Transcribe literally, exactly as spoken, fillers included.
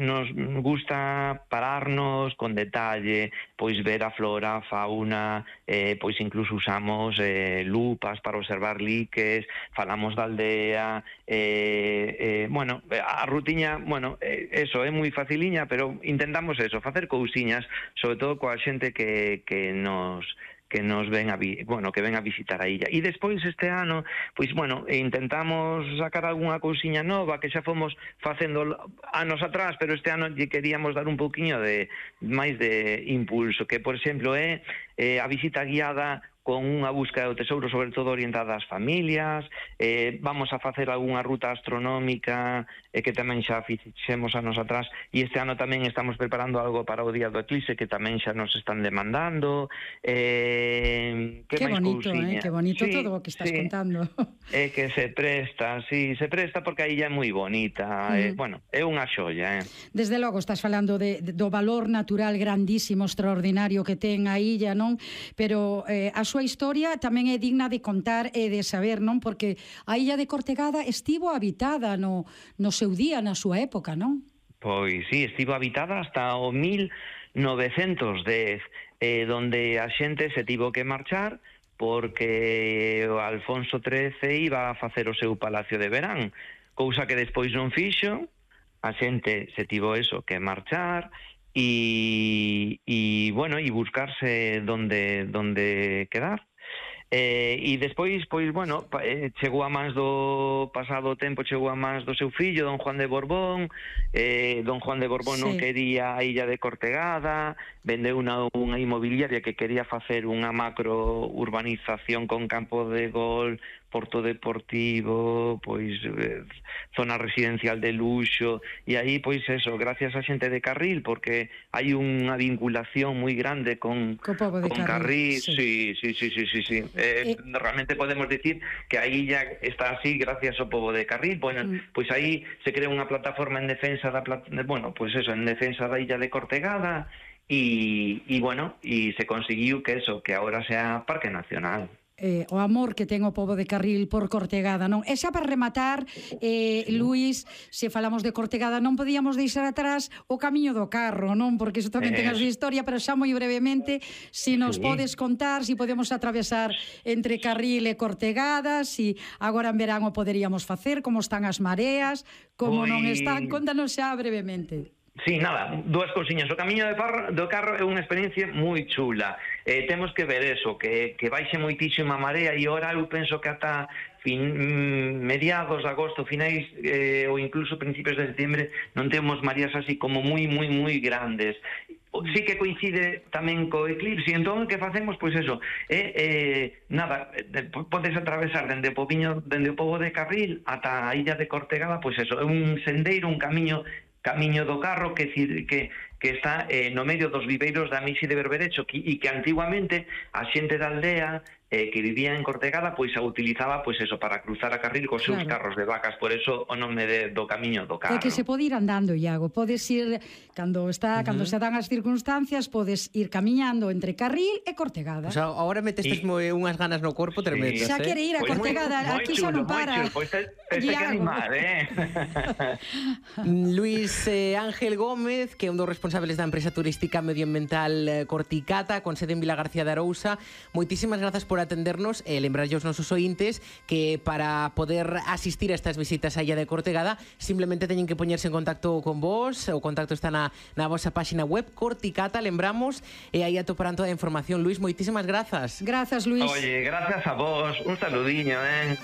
nos gusta pararnos con detalle, pois ver a flora, a fauna, eh, pois incluso usamos eh, lupas para observar liques, falamos da aldea, eh, eh, bueno, a rutiña, bueno, eh, eso, é moi faciliña, pero intentamos eso, facer cousiñas, sobre todo coa xente que, que nos... que nos ven a vi, bueno, que ven a visitar a illa. E despois este ano, pois bueno, intentamos sacar algunha cousiña nova que xa fomos facendo anos atrás, pero este ano lle queríamos dar un pouquiño de máis de impulso, que por exemplo é eh, a visita guiada con unha búsqueda do tesouro, sobre todo orientada ás familias, eh, vamos a facer algunha ruta astronómica eh, que tamén xa fixemos anos atrás, e este ano tamén estamos preparando algo para o día do eclipse que tamén xa nos están demandando. Eh, que que máis bonito, cousiña? eh? Que bonito sí, todo o que estás sí. contando. É que se presta, sí, se presta porque a illa é moi bonita, mm. eh, bueno, é unha xoia, eh. Desde logo estás falando de, de, do valor natural grandísimo, extraordinario que ten a illa, non? Pero eh, a súa historia tamén é digna de contar e de saber, non? Porque a illa de Cortegada estivo habitada no, no seu día, na súa época, non? Pois sí, estivo habitada hasta o mil novecentos dez, eh, donde a xente se tivo que marchar porque o Alfonso trece iba a facer o seu palacio de verán, cousa que despois non fixo, a xente se tivo eso que marchar, e, e bueno, e buscarse donde, donde quedar. Eh, e despois, pois, bueno, eh, chegou a mans do pasado tempo, chegou a mans do seu fillo, don Juan de Borbón, eh, don Juan de Borbón sí. non quería a illa de Cortegada, vendeu unha, unha inmobiliaria que quería facer unha macro urbanización con campo de gol, porto deportivo, pois eh, zona residencial de luxo, e aí, pois eso, gracias a xente de Carril, porque hai unha vinculación moi grande con, Co pobo de con Carril, Carril, sí, sí, sí, sí, sí, sí. Eh, eh, realmente podemos decir que a illa está así gracias ao pobo de Carril. Bueno, mm. pois aí se crea unha plataforma en defensa da, bueno, pois eso, en defensa da illa de Cortegada, e, e bueno, e se conseguiu que eso, que agora sea Parque Nacional. Eh, o amor que ten o pobo de Carril por Cortegada, non? E xa para rematar, eh, sí. Luís, se falamos de Cortegada non podíamos deixar atrás o Camiño do Carro, non? Porque iso tamén eh. ten a súa historia, pero xa moi brevemente, se nos sí. podes contar, se si podemos atravesar entre Carril e Cortegada, se si agora en verán o poderíamos facer, como están as mareas, como Ui. non están, contanos xa brevemente. Sí, nada, dúas cousiñas. O Camiño de parro, do Carro é unha experiencia moi chula. Eh, temos que ver eso, que, que baixe moitísima marea, e ora eu penso que ata fin, mediados de agosto, finais eh, ou incluso principios de setembro non temos mareas así como moi, moi, moi grandes. Sí que coincide tamén co eclipse, e entón que facemos, pois eso, é, eh, nada, podes atravesar dende o pobiño, dende o pobo de Carril ata a illa de Cortegada, pois eso, é un sendeiro, un camiño Camiño do Carro que que que está eh, no medio dos viveiros da Misi de Berberecho, que, e que antiguamente a xente da aldea eh, que vivía en Cortegada pois a utilizaba pois eso para cruzar a Carril cos seus claro. carros de vacas, por eso o nome de, do Camiño do Carro. É que se pode ir andando, Iago, podes ir cando está uh -huh. cando se dan as circunstancias, podes ir camiñando entre Carril e Cortegada. O sea, agora metestes y... unhas ganas no corpo tremendas, sí. Xa quere ir a pues Cortegada, muy, aquí muy chulo, xa non para. Pois pues te, te que animar, eh. Luís eh, Ángel Gómez, que é un dos responsables da empresa turística medioambiental Corticata, con sede en Vilagarcía de Arousa, moitísimas grazas por atendernos e lembrarlle aos nosos ointes que para poder asistir a estas visitas á illa de Cortegada simplemente teñen que poñerse en contacto con vos, o contacto está na, na vosa páxina web Corticata, lembramos, e aí atoparán toda a información. Luís, moitísimas grazas. Grazas, Luís. Oye, gracias a vos, un saludiño, eh.